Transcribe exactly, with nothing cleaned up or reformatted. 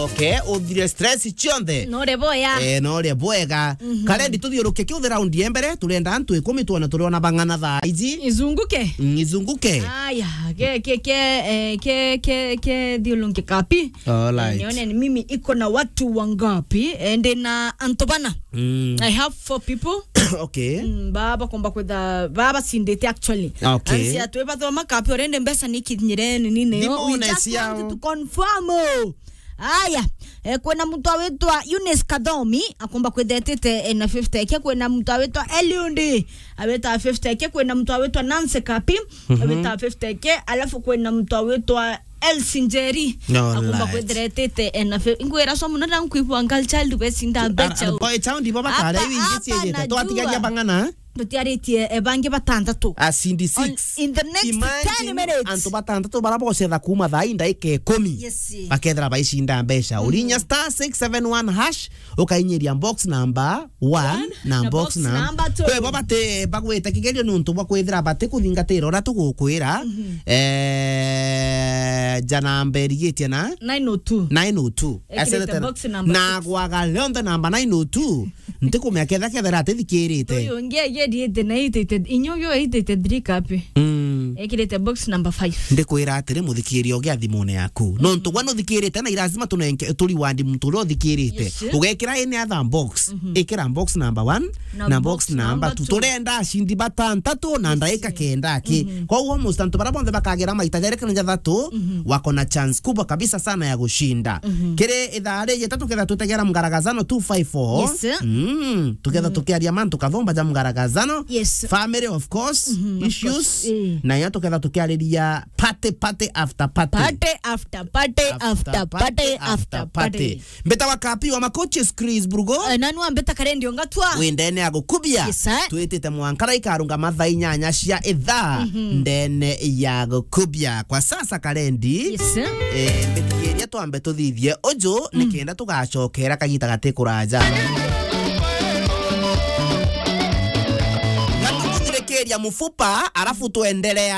Okay, uthire stress cionthe. No ri bwega. Eh, no ri bwega. Mhm. Karendi tuthiuruke kiu the round ya mbere, turenda antu ikumi twona turiona bang'ana thaa iji. Izunguke. Mm, izunguke. Aya, ke, ke, ke, eh, ke, ke, ke thiulunge kapi. All right. Eh, nione ni mimi iko na watu wangapi? Eh, ndi na antu bana. Mm. I have four people. Okay. Mm, ba, bakomba kwitha, ba bacindite actually. Okay. Ansi atu bathoma kapi already mbeca ni kinyire ni nini yo. Thimu. We just want to confirm. Aya, eh, kwina muntu awitwa Eunice Kathomi, akomba kwitha etite, eh, na fifty K, kwina muntu awitwa Eliundi, awita fifty K, kwina muntu awitwa Nancy Kapi, mhm, awita fifty K, alafu kwina muntu awitwa Elsie Njeri, no, akomba right, kwithira etite, eh, na fi-, ingwira so muno na nkwibwa girl child becinda mbeca. Boy child ibo bakare. Hapa, iu ingi hapa ciejete. Najua. Twatigaria bang'ana? Tutiaritie, eh, bangi batantatu. Acindi six. On, in the next ten minutes. Imagine antu batantatu bara bocetha kuma thaa ii ndaika ikumi. Yes. Bakethira baicinda mbeca. Mhm. Urinya star six seven one hash, ukainyiria box number one na box number two. Kwi bo bati bagwite kigerio ni untu bwa kwithira bati kuthingatira uria tugukwira. Mhm. Eh, ja namba irigitie na nine oh two. Nine oh two. Ekirite box number six. Na gwaga rionthe namba nine oh two. Ntikumenya ketha kethira atithikirite. Uyu ungi agiethiite na eighty-eight, inya uyu eighty-eight three kapi. Mm. Ekirite box number five. Ndikwira atiri, muthikiria ugi a thimune yaku. Mm. Nontu gwa nuthikirite na irazima tunenge, turiwandi muntu uria uthikirite. Yes, sir. Ugekira any other box. Mhm. Ikira box number one na box number two. Turenda acindi batantatu na ndaika kenda aki. Mhm. Koguo almost antu bara bonthe bakagira maita jeri kana jathatu, mhm, wako na chance kubwa kabisa sana ya gushinda. Mhm. Kiri ithaa rijite tuketha tutegera mgaragazano two five four. Yes, sir. Mm, tuketha tukiaria mantu kathumba ja mgaragazano. Yes. Family, of course, mhm, of course, issues. Eh. Na ya tuketha tukiariria party, party after party. Party after party after party after party. Mbeta wa kapi wa makochi Chris Burgo. Eh, nani wa mbeta karendi ongatwa? Wi ndene ya gukubia. Yes, sir. Twitite mwankara ikarungama thaa inyanya cia ithaa, mhm, ndene ya gukubia. Kwa sasa karendi. Yes, sir. Eh, mbitigiria twambe tuthithie uju, mm, nikenda tugacokera kagita gati kuraja. Ngatukuthirikiria mufupa, alafu tuendelea.